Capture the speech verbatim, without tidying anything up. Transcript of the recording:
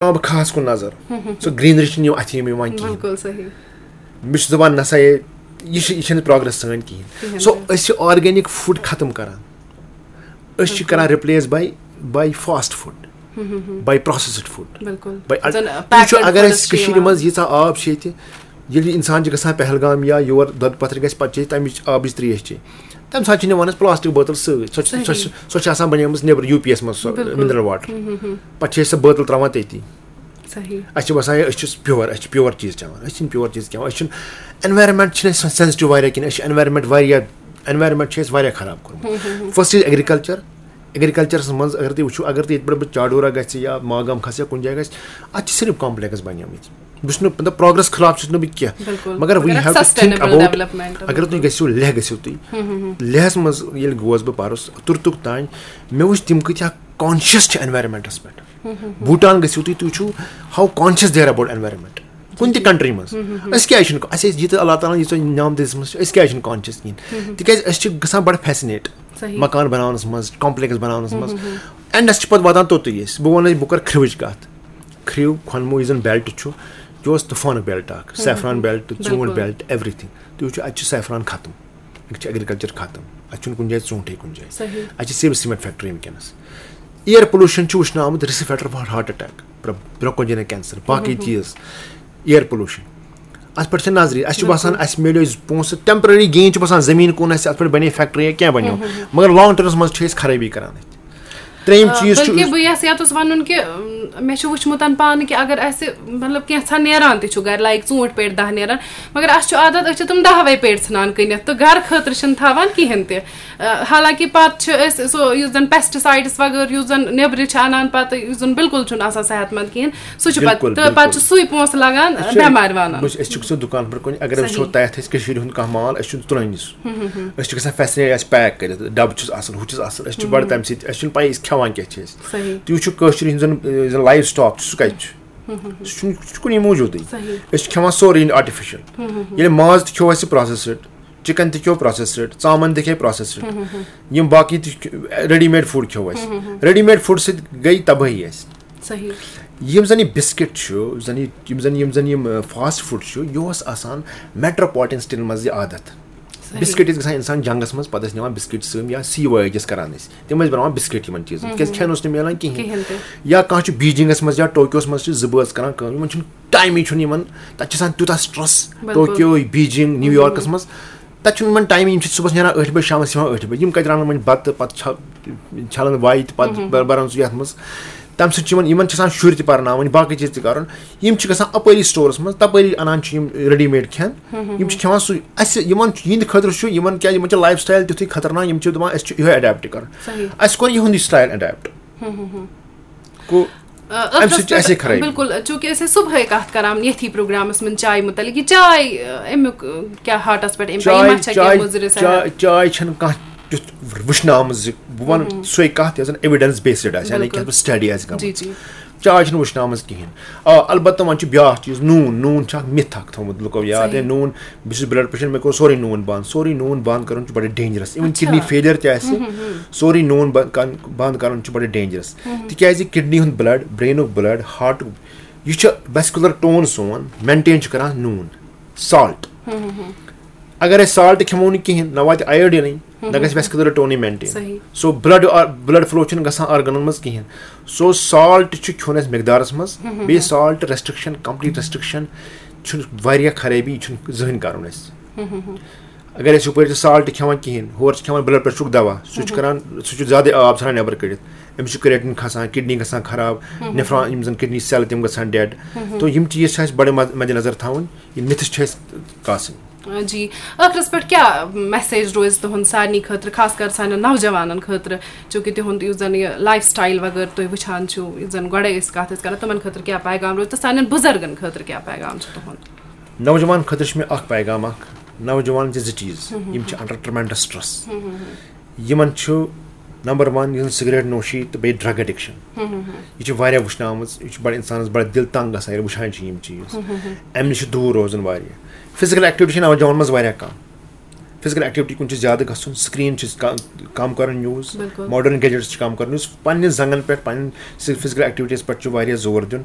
دِوان بہٕ خاص کُن نظر۔ سۄ گرینری چھِنہٕ یِم اَتھِ یِم یِوان کِہیٖنۍ۔ بِلکُل صحیح۔ مےٚ چھُ دَپان نہ سا یہِ، یہِ چھِ، یہِ چھَنہٕ پروگرس سٲنۍ کِہیٖنۍ۔ کِہیٖنۍ سو تہِ۔ أسۍ چھِ آرگینِک فُڈ ختم کران، أسۍ چھِ کران رِپلیس باے باے فاسٹ فُڈ، باے پروسیسڈ فُڈ۔ بِلکُل۔ باے زَن وٕچھو، packed اگر foods أسۍ چھِ کٔشیٖرِ یِوان۔ منٛز ییٖژاہ آب چھِ ییٚتہِ، ییٚلہِ اِنسان چھِ گژھان پہلگام یا یور دۄدٕ پَتھٕر گژھِ، پَتہٕ چھِ أسۍ تَمِچ آبٕچ ترٛیش چیٚنۍ۔ تَمہِ ساتہٕ چھِ نِوان أسۍ پلاسٹک بٲتل سۭتۍ، سۄ چھِ سۄ چھِ صحیح۔ سۄ چھِ آسان بَنیمٕژ نیٚبرٕ یوٗ پی یَس منٛز، سۄ بِلکُل۔ Mineral water. پَتہٕ چھِ أسۍ سۄ بٲتل ترٛاوان تٔتی۔ صحیح۔ اَسہِ چھِ باسان، ہے، أسۍ چھِ پیور، أسۍ چھِ پیور چیٖز چٮ۪وان، أسۍ چھِنہٕ پیور چیٖز کھٮ۪وان، أسۍ چھِنہٕ، اینوارمینٹ چھِنہٕ أسۍ سینسٹیو واریاہ کِہیٖنۍ، أسۍ چھِ اینوارمینٹ واریاہ، اینوارمینٹ چھِ اَسہِ واریاہ خراب کوٚرمُت۔ فرسٹ چھِ ایگریکلچر، ایگریکلچرس منٛز اگر تُہۍ وٕچھِو، اگر تُہۍ ییٚتہِ پٮ۪ٹھ بہٕ چاڈورہ گژھِ یا ماگام کھسہِ یا کُنہِ جایہِ گژھِ، اَتہِ چھِ صرف کمپلیکس بَنیمٕتۍ۔ بہٕ چھُس نہٕ، مطلب، پروگرس خلاف چھُس نہٕ بہٕ کینٛہہ، بِلکُل۔ مگر we مگر have to think sustainable about، development۔ اگر تُہۍ گٔژھِو لیہ گٔژھِو تُہۍ، لیہس منٛز ییٚلہِ گوس بہٕ پَرُس تُرتُک تام، مےٚ وٕچھ تِم کۭتیٛاہ کانشیس چھِ اینوارمینٹس پٮ۪ٹھ۔ بوٗٹان گٔژھِو تُہۍ، تُہۍ وٕچھِو how conscious they are about environment۔ کُنہِ تہِ کنٹری منٛز۔ أسۍ کیازِ چھِنہٕ، اَسہِ ٲسۍ ییٖتیٛاہ اللہ تعالیٰ ہن ییٖژاہ نعمتہٕ دِژمٕژ چھِ، أسۍ کیازِ چھِنہٕ کانشیس کِہیٖنۍ؟ تِکیازِ أسۍ چھِ گژھان بڑٕ فیسنیٹ۔ صحیح۔ مکان بناونس منٛز، کمپلیکس بناونس منٛز، اینڈس چھِ پتہٕ واتان توٚتُے أسۍ۔ بہٕ وَنہٕ، بہٕ کرٕ کھرٛوٕچ کتھ۔ کھرٛو، کھۄنمو یُس زن بیلٹ چھُ، یہِ اوس طوفانُک بیلٹ اکھ، سیفران بیلٹ، ژوٗنٛٹھ بِلکُل۔ Belt, every thing. تُہۍ وٕچھِو، اتہِ چھُ سیفران ختم، اتہِ چھُ ایگریکلچر ختم، اتہِ چھُنہٕ کُنہِ جایہِ ژوٗنٛٹھٕے کُنہِ جایہِ۔ صحیح۔ اتہِ چھِ صرف سیمنٹ فیکٹری وٕنکیٚنس۔ ایئر پولوشن چھُ وٕچھنہٕ آمُت، risk factor for heart attack، bronchogenic cancer, باقٕے چیٖز، ایئر پولوشن۔ اتھ پٮ۪ٹھ چھِ نظرِ، اسہِ چھُ باسان اسہِ میلیو پونٛسہٕ، ٹیمپرری گین چھُ باسان، زٔمیٖن کُن آسہِ، اتھ پٮ۪ٹھ بنے فیکٹری یا کینٛہہ بنیو، مگر لانگ ٹرمس منٛز چھِ أسۍ خرٲبی کران اتہِ۔ ترٛیٚیِم آ، چیٖز چھُ بلکہِ بہٕ یژھ یتھ اوس ونُن کہِ، ام، مےٚ چھُ وٕچھمُت پانہٕ کہِ اگر اسہِ، مطلب، کینٛژھا نیران تہِ چھُ گرِ، لایک ژوٗنٛٹھۍ پیٹہِ دَہ نیران، مگر اسہِ چھُ عادت، أسۍ چھِ تِم دَہوے پیٹہِ ژھٕنان کٕنِتھ تہٕ گرٕ خٲطرٕ چھِنہٕ تھاوان کِہیٖنۍ تہِ۔ آ، حالانکہِ پتہٕ چھِ أسۍ سُہ، یُس زن پیسٹسایڈس وغٲرٕ یُس زن نیٚبرٕ چھِ انان، پتہٕ یُس زن بلکل چھُنہٕ آسان صحت مند کِہیٖنۍ، سُہ چھُ پتہٕ، بلکل، تہٕ بلکل۔ پتہٕ چھُ سُے پونٛسہٕ لگان أسۍ چھِ، بٮ۪مارِ وانان۔ بہٕ چھُس، أسۍ چھِ سُہ دُکان پٮ۪ٹھ کُنہِ، اگر أسۍ وٕچھو، صحیح۔ تۄہہِ اَتھ آسہِ کٔشیٖرِ ہُنٛد کانٛہہ مال، أسۍ چھِنہٕ تُلٲنی سُہ۔ أسۍ چھِ گژھان فیسنیٹ، اَسہِ پیک کٔرِتھ، ڈَبہٕ چھُس آسان، ہُہ چھُس آسان، أسۍ چھِ بَڑٕ تَمہِ سۭتۍ، اَسہِ چھُنہٕ پَیی أسۍ کھٮ۪وان کیٛاہ چھِ أسۍ۔ صحیح۔ تُہۍ وٕچھِو کٲشُر یُس زَن، یُس زَن لایِو سٹاک چھُ، سُہ کَتہِ چھُ؟ سُہ چھُنہٕ، سُہ چھُ کُنی موٗجوٗدٕے۔ صحیح۔ أسۍ چھِ کھٮ۪وان سورُے artificial۔ ییٚلہِ ماز تہِ کھیوٚو اَسہِ پروسیسڈ، چِکن تہِ کھیوٚو پروسیسڈ، ژامَن تہِ کھیٚیہِ پروسیسڈ، یِم باقٕے تہِ ریڈی میڈ فُڈ کھیوٚو اَسہِ۔ ریڈی میڈ فُڈ سۭتۍ گٔے تبٲہی اَسہِ۔ صحیح۔ یِم زَن یہِ بِسکِٹ چھُ، یُس زَن یہِ، یِم زَن، یِم زَن یِم، آ، فاسٹ فُڈ چھُ، یہِ اوس آسان میٹروپالیٹن سٹیٹن منٛز یہِ عادت۔ صحیح۔ بِسکِٹ ٲسۍ گژھان اِنسان جنگس منٛز، پَتہٕ ٲسۍ نِوان بِسکِٹ سۭتۍ یا سی وٲج ٲسۍ کران أسۍ، تِم ٲسۍ بَناوان بِسکِٹ یِمن چیٖزن، تِکیازِ کھٮ۪ن اوس نہٕ مِلان کِہینۍ۔ کِہینۍ تہِ۔ یا کانٛہہ چھُ بیٖجِنگس منٛز یا ٹوکیوس منٛز چھِ زٕ بٲژ کران کٲم، یِمن چھُنہٕ ٹایمٕے، چھُنہٕ یِمن، تَتہِ چھُ آسان تیوٗتاہ سٹریس، بِلکُل۔ ٹوکیو، بیٖجِنگ، نیو یارکس منٛز، تَتہِ چھُنہٕ یِمن ٹایمٕے، یِم چھِ صبحس نیران ٲٹھِ بجہِ، شامس یِوان ٲٹھِ بجہِ، یِم کَتہِ رَنن وۄنۍ بَتہٕ، پَتہٕ چھَ-، چھَلن وایہِ تہٕ پَتہٕ بَر-، بَران سُہ یَتھ منٛز۔ تَمہِ سۭتۍ چھِ یِمن، یِمن چھِ آسان شُرۍ تہِ پَرناوٕنۍ، باقٕے چیٖز تہِ کَرُن۔ یِم چھِ گژھان اَپٲری سٹورَس منٛز، تَپٲری اَنان چھِ یِم ریڈی میڈ کھٮ۪ن، یِم چھِ کھٮ۪وان سُے۔ اَسہِ، یِمن چھِ، یِہِنٛدِ خٲطرٕ چھُ، یِمن کیٛازِ، یِمن چھِ لایف سٹایل تیُتھُے خطرناک، یِم چھِ دَپان أسۍ چھِ یِہوٚے اڈیپٹ کَرُن۔ صحیح۔ اَسہِ کوٚر یِہُنٛدُے سٹایل اڈیپٹ۔ گوٚو، آ، اَمہِ ٲخرس سۭتۍ چھِ اَسے پٮ۪ٹھ، خرٲبی۔ بِلکُل، چوٗنٛکہِ أسۍ ٲسۍ صُبحٲے کَتھ کَران ییٚتھی پروگرامَس منٛز چایہِ مُتعلِق، یہِ چاے، آ، اَمیُک، آ، کیٛاہ ہاٹَس پٮ۪ٹھ اِمپیکٹ، یہِ ما چھےٚ کینٛہہ مُضِر سایڈ؟ چاے، چاے چھَنہٕ کانٛہہ تیُتھ وٕچھنہٕ آمٕژ زِ بہٕ وَنہٕ سۄے کَتھ یۄس زَن ایویڈنس بیسڈ آسہِ، یعنی کہِ بِلکُل۔ یَتھ پٮ۪ٹھ سٹڈی آسہِ جی، گٔمٕژ۔ جی۔ چاے چھَنہٕ وٕچھنہٕ آمٕژ کِہیٖنۍ۔ آ، البتہ وۄنۍ چھُ بیٛاکھ چیٖز، نوٗن۔ نوٗن چھُ اَکھ مِتھ اَکھ تھوٚومُت لُکو یاد، صحیح۔ ہے، نوٗن، بہٕ چھُس بٕلڈ پریشر، مےٚ کوٚر سورُے نوٗن بنٛد۔ سورُے نوٗن بنٛد کَرُن چھُ بَڑٕ ڈینجرس۔ اِوٕن اچھا۔ کِڈنی فیلیر تہِ آسہِ، سورُے نوٗن بنٛد کَرُن، بنٛد کَرُن چھُ بَڑٕ ڈینجرس۔ تِکیٛازِ کِڈنی ہُنٛد بٕلڈ، برینُک بٕلڈ، ہارٹُک، یہِ چھُ ویسکولر ٹون سون مینٹین چھُ کران نوٗن، سالٹ۔ اگر أسۍ سالٹ کھٮ۪مو نہٕ کِہینۍ، نہ واتہِ آیوڈینٕے، نہ گژھِ ویسکولر ٹونٕے مینٹین۔ صحیح۔ سو بلڈ، بلڈ فلو چھُنہٕ گژھان آرگنن منٛز کِہینۍ۔ سو سالٹ چھُ کھیوٚن اَسہِ مقدارس منٛز، بیٚیہِ سالٹ ریسٹرکشن، کمپلیٹ ریسٹرکشن چھُنہٕ واریاہ خرٲبی، یہِ چھُنہٕ زٕہٕنۍ کرُن اَسہِ۔ اگر أسۍ ہُپٲرۍ چھِ سالٹ کھٮ۪وان کِہینۍ، ہورٕ چھِ کھٮ۪وان بلڈ پریشرُک دوا، سُہ چھُ کران، سُہ چھُ زیادٕ آب ژھٕنان نٮ۪بر کٔڑِتھ، أمِس چھُ کریٹن کھسان، کڈنی گژھان خراب، نفران، یِم زن کڈنی سیل تِم گژھان ڈیڈ۔ تو یِم چیٖز چھِ اَسہِ بڑٕ مد-، مدِ نظر تھاوٕنۍ، یِم مِتھٕس چھِ اَسہِ کاسٕنۍ۔ آ، جی، ٲخرس پٮ۪ٹھ کیٛاہ میسیج روزِ تُہُنٛد سارنٕے خٲطرٕ، خاص کر سانٮ۪ن نوجوانن خٲطرٕ، چوٗنٛکہِ تِہُنٛد یُس زن یہِ لایف سٹایل وغٲرٕ تُہۍ وٕچھان چھِو، یُس زن گۄڈے أسۍ کتھ ٲسۍ کران، تِمن خٲطرٕ کیٛاہ پیغام روزِ تہٕ سانٮ۪ن بُزرگن خٲطرٕ کیٛاہ پیغام چھُ تُہُنٛد؟ نوجوان خٲطرٕ چھُ مےٚ اکھ پیغام اکھ، نوجوان چھِ زٕ چیٖز، یِم چھِ under tremendous stress۔ یِمن چھُ نمبر ون، یُس زن سگریٹ نوشی تہٕ بیٚیہِ ڈرگ ایڈکشن، یہِ چھِ واریاہ وٕچھنہٕ آمٕژ، یہِ چھُ بڑٕ انسانس بڑٕ دِل تنگ گژھان ییٚلہِ وٕچھان چھِ یِم چیٖز۔ امہِ نِش چھُ دوٗر روزُن واریاہ۔ فزیکل ایکٹیویٹی چھِ نوجوانن منٛز واریاہ کم۔ فزیکل ایکٹیویٹی کُن چھُ زیادٕ گژھُن، سکرین چھِ کا-، کم کرُن یوٗز، بِلکُل۔ ماڈرن گیجٹس چھِ کم کرُن یوٗز، پننہِ زنگن پٮ۪ٹھ، پننٮ۪ن فزیکل ایکٹیویٹیز پٮ۪ٹھ چھُ واریاہ زور دیُن۔